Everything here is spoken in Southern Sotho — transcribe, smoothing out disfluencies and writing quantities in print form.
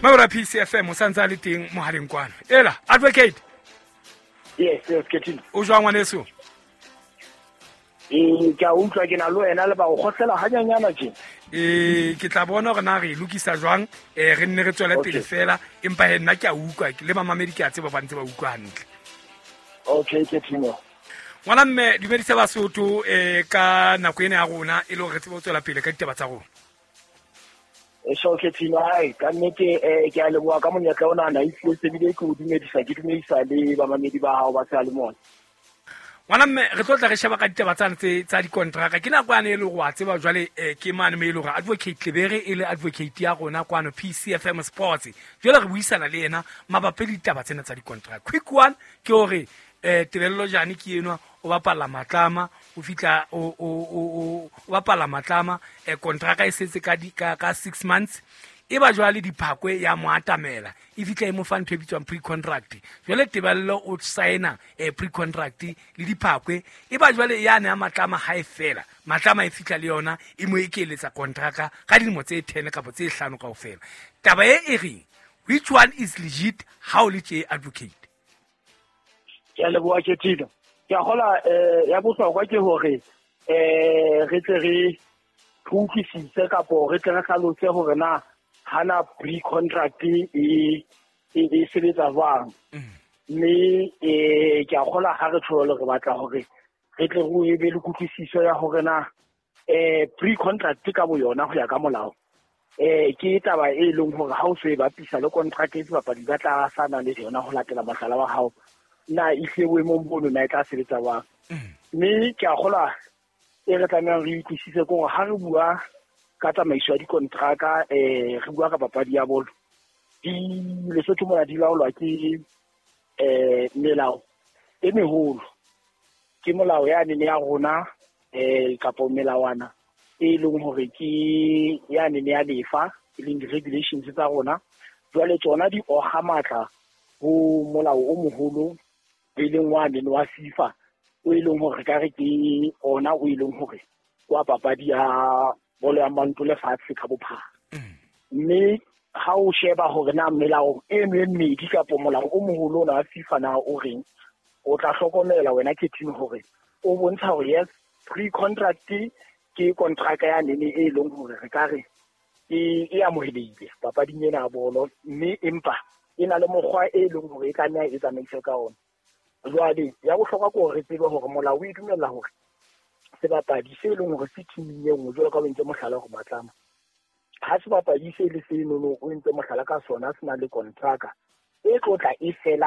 Mabora PCFM o santse a le teng mohaleng kwano. Ela advocate. Yes, Ketino. O jwang ngwaneso? Ee, ke a utlwa, ke na le wena le ba o kgotlela hanyanyana tje. Ee, ke tla bona gore na re e lokisa jwang, re nne re tswele pele fela, empa he nna ke a utlwa le mamamedi, ke a tseba ba ntse ba utlwa hantle. Okay, Ketino. Ngwana mme, dumedisa Basotho ka nako ena ya rona e le hore re tsebe ho tswela pele ka ditaba tsa rona. So Ketino, hai ka nnete, ke a leboha ka monyetla ona na ehlile sebile ke o dumedisa, ke dumedisa le bamamedi ba hao ba sa le mona. Ngwana mme, re tlo tla re sheba ka ditaba tsane tse tsa dikontraka. Ke nako yane e le gore wa tseba jwale, ke mane mo e le gore advocate Lebere e le advocate ya rona kwano PCFM Sports, jwale re buisana le yena mabapi le ditaba tsena tsa dikontraka. Quick one ke hore Tebello Jane ke enwa o bapalla Matlama, o fitla o bapalla Matlama, kontraka e setse ka ka 6 months, e ba jwale Diphakwe ya mo atamela, e fitla e mo fa ntho e bitswang pre-contract. Jwale Tebello o signa pre-contract le Diphakwe, e ba jwale ya ne ya Matlama ha e fela, Matlama e fitla le yona e mo ekeletsa kontraka ka dilemo tse 10 kapa tse 5 kaofela. Taba e e reng which one is legit ha o le tje advocate? Ke a leboha Ketino. Ke a kgola, ya bohlokwa ke hore re tle re utlwisise kapo re tle re hlalose hore na hana pre-contract e sebetsa jwang. Mme ke a kgola ha re tjho re batla hore re tle re be le kutlwisiso ya hore na pre-contract ka boyona ho ya ka molao ke taba e leng hore ha o so e bapisa le contract e sebapadi ba tla sana le yona ho latela mohlala wa hao, na ehlile boemong bono na e tla sebetsa jwang. Mme ke a kgola e re tlamehang re utlwisise ke hore ha re bua ka tsamaiso ya dikontraka, re bua ka papadi ya bolo, di Lesotho mona di laolwa ke melao e meholo. Ke molao yane ya rona kapo melawana e leng hore ke yane ya lefa, e leng di-regulations tsa rona. Jwale tsona di oga matla ho molao o moholo e leng wane wa FIFA, o e leng hore ka re ke ona o e leng hore wa papadi ya bolo ya maoto lefatshe ka bophara. Mme ha o sheba hore na melao e mmedi kapo molao o moholo ona wa FIFA na o reng, o tla hlokomela wena Ketino hore o bontsha hore yes, pre-contract ke contract ya nene e leng hore re ka re e amohelehile papading ena ya bolo, mme empa e na le mokgwa e leng hore e tlameha e tsamaiswe ka ona. Jwale ya bohlokwa ke hore re tsebe hore molao o e dumella hore sebapadi se leng hore se teaming e nngwe, jwalo ka o entse mohlala hore Matlama, ha sebapadi se le senono o entse mohlala ka sona se na le kontraka e tlo tla e fela.